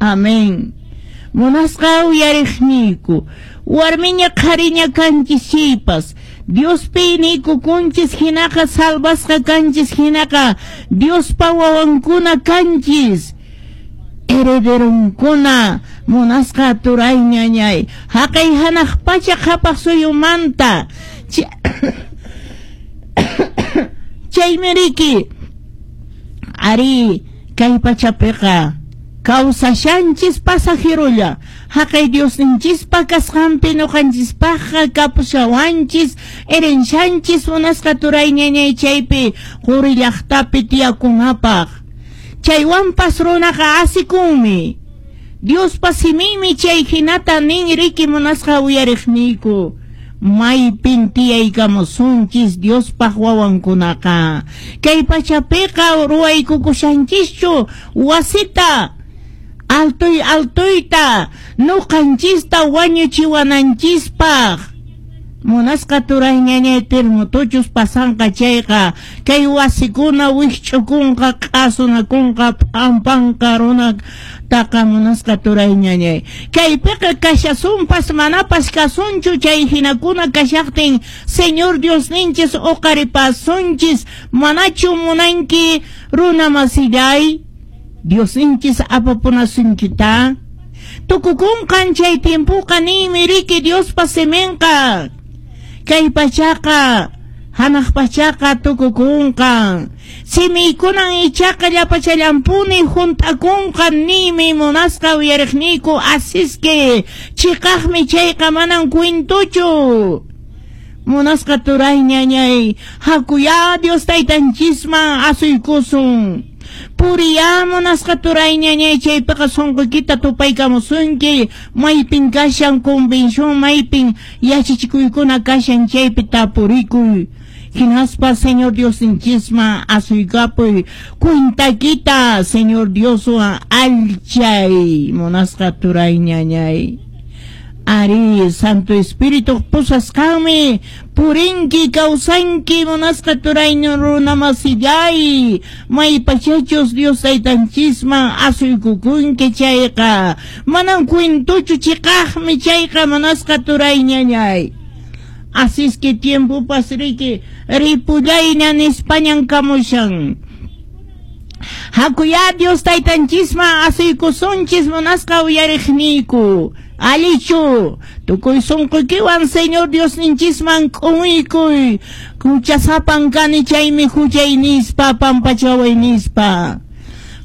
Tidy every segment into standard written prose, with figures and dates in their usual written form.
Amén. Munasqa uyariqniyku, warmiña qhariña kanchis chaypas, Diospi niykukunchis hinaqa salvasqa kanchis hinaqa Diospa wawankuna kanchis. Herederonkuna munasqa turay ñañay, haqay hanaq pacha qhapaq suyumanta. Chaymi riki, ari kay pachapiqa kawsashanchis pasajerolla, haqay Diosninchispa kasqanpi ñuqanchispaqqa kapushawanchis, herencianchis munasqa turay ñañay chaypi quri llaqtapi tiyakunapaq. Chaywanpas runaqa asikunmi. Diospa siminmi chay hinata nin riki munasqa uyariqniyku. Maypin tiyaykamusunchis Diospaq wawankunaqa. Kay pachapiqa ruwaykukushanchischu wasita altoy altoyta nuqanchista wañuchiwananchispaq. Munasqa turay ñañay terremotochus pasanqa chayqa kay wasikuna wikch'ukunqa q'asunakunqa p'ampanqa runataqa munasqa turay ñañay. Kaypiqa kashasunpas manapas kasunchu chay hinakuna kashaqtin Señor Diosninchis uqaripasunchis manachu munanki runa masillay Diosninchis apapunasunkita. Tukukunqan chay tiempoqa ninmi riki Diospa siminqa. Kay pachaqa hanaq pachaqa tukukunqan. Simiykunan ichaqa llapachallampuni hunt'akunqa ninmi munasqa uyariqniyku asiske chiqaqmi chayqa manan cuentochu. Munasqa turay ñañay hakuyá Dios taytanchisman asuykusun. Puriyá munasqa turay ñañay chaypiqa sunquykita tupaykamusunki maypin kashan convención maypin yachachikuykuna kashan chaypi tapurikuy. Hinaspa Señor Diosninchisman asuykapuy cuentakita Señor Dioswan allchay munasqa turay ñañay. Ari Santo Espíritu pusasqanmi purinki kawsanki munasqa turay runa masillay maypachachus Dios taytanchisman asuykukunki chayqa manan cuentochu chiqaqmi chayqa munasqa turay ñañay. Así es que tiempopas riki ripullayña nispañan kamushan. Hakuyá Dios taytanchisman asuykusunchis munasqa uyariqniyku. Alichu, tukuy sunquykiwan Señor Diosninchisman k'umuykuy. Huchasapan kani chaymi huchay nispa pampachaway nispa.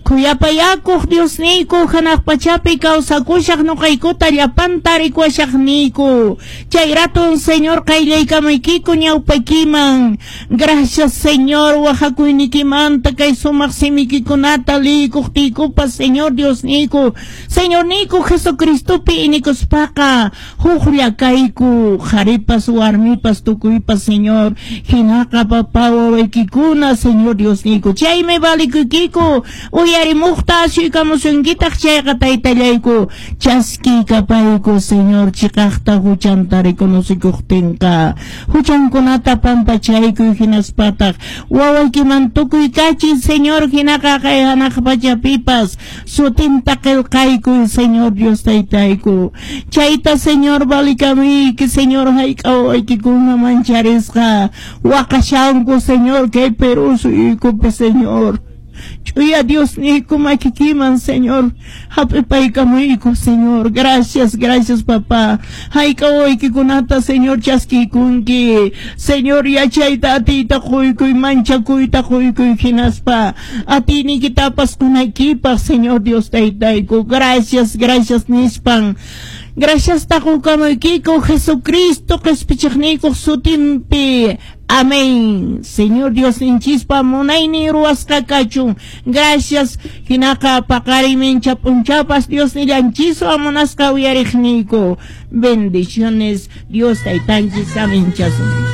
Khuyapayakuq Diosniyku hanaq pachapi kawsakushaq nuqaykuta llapanta rikuwashaqniyku. Chay ratun Señor qayllaykamaykiku ñawpaykiman. Gracias Señor waqakuynikimanta kay sumaq simikikunata liykuqtiykupas Señor Diosniyku. Señorniyku Jesucristopi inikuspaqa huklla kayku qharipas warmipas tukuypas Señor. Hinaqa papá wawaykikuna Señor Diosniyku. Chaymi valikuykiku uyarimuqta asuykamusunkitaq chayqa taytallayku chaskiykapayku Señor chiqaqta huchanta reconocikuqtinqa huchankunata pampachaykuy hinaspataq wawaykiman tukuykachiy Señor hinaqa kay hanaq pachapipas sutinta qillqaykuy Señor Dios taytayku chayta Señor valikamuyki Señor hayk'a wawaykikuna mancharisqa waqashanku Señor kay Perú suyuykupi Señor. Ch'uya Diosniyku makikiman Señor hap'ipaykamuyku Señor. Gracias, gracias papá. Hayk'a wawaykikunata Señor chaskiykunki. Señor yachayta atiyta quykuy manchakuyta quykuy hinaspa atiyniykitapas qunaykipaq Señor Dios taytayku. Gracias, gracias nispan. Gracias qukamuykiku Jesucristo qispichiqniykuq sutinpi. Amén. Señor Diosninchispa munaynin ruwasqa kachun. Gracias. Hinaqa paqarin p'unchapas Dios nillanchiswan munasqa uyariqniyku. Bendiciones. Dios taytanchis aminchasun.